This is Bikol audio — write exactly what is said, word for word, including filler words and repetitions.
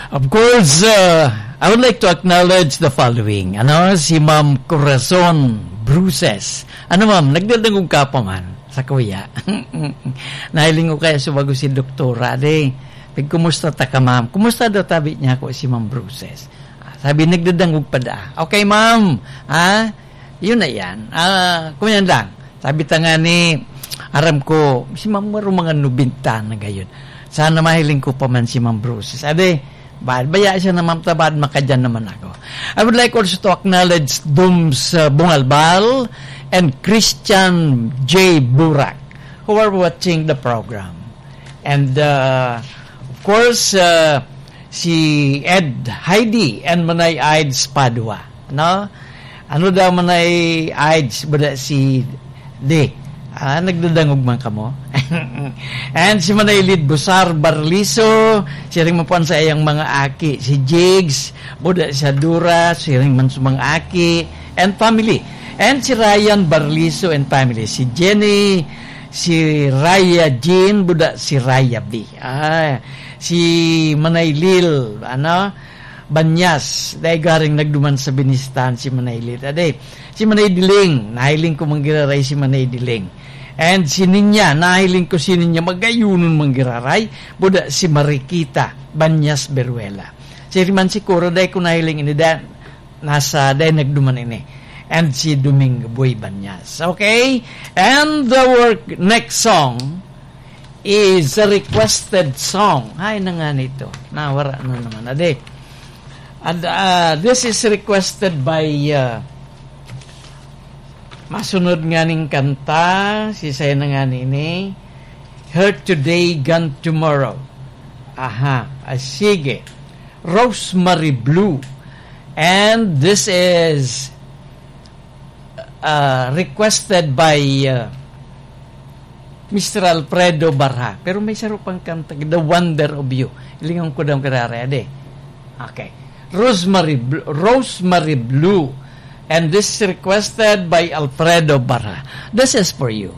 Of course, uh, I would like to acknowledge the following. Ano, si Ma'am Corazon Bruces. Ano, ma'am, nagdadangog ka pa man sa kuya? Nahiling ko kaya sa bago si doktora, de. Pag, "Kumusta ta ka, ma'am?" "Kumusta daw tabi niya ako si Ma'am Bruces?" Ah, sabi, "Nagdadangog pa da." "Okay, ma'am. Ha? Yun na yan. Ah, kunyan lang." Sabi ta nga ni, aram ko, si Ma'am Maro mga nobenta na gayon. Sana mahiling ko pa man si Ma'am Bruces. Ade, baad, baya siya na, ma'am, ta baad makadyan naman ako. I would like also to acknowledge Dums, uh, Bungalbal and Christian J Burak, who are watching the program. And, uh, of course, uh, si Ed Heidi and Manay Aids Padua, no? Ano daw, Manay Aids, buda si De? Ah, nagdadangog man kamo? And si Manay Lid Busar Barliso, siring man po an saiyang mga aki. Si Jigs, buda si Adura, siring man sa mga aki and family. And si Ryan Barliso and family. Si Jenny, si Raya Jean, buda si Raya B. Ah, si Manay Lil, ano, Banyas, dai garing nagduman sa Binistan si Manay Lil. Ade, si Manay Diling, nahiling ko manggiraray si Manay Diling. And si Ninya, nahiling ko si Ninya, magayunon manggiraray, buda si Marikita, Banyas, Beruela. Si Riman Sikuro, dai ko nahiling ini, da, nasa, dai nagduman ini. And si Domingo Boy Banyas. Okay? And our next song is a requested song. Ay, na nga nito. Nawara na naman. Ade. And, uh, this is requested by, uh, masunod nga ning kanta, si saya na nga nini, Hurt Today, Gone Tomorrow. Aha, ah, sige. Rosemary Blue. And this is, uh, requested by, uh, Mister Alfredo Barha. Pero may saro pang kanta, The Wonder of You. Hilingon ko daw karare, ade. Okay. Rosemary Bl-, Rosemary Blue. And this is requested by Alfredo Barha. This is for you.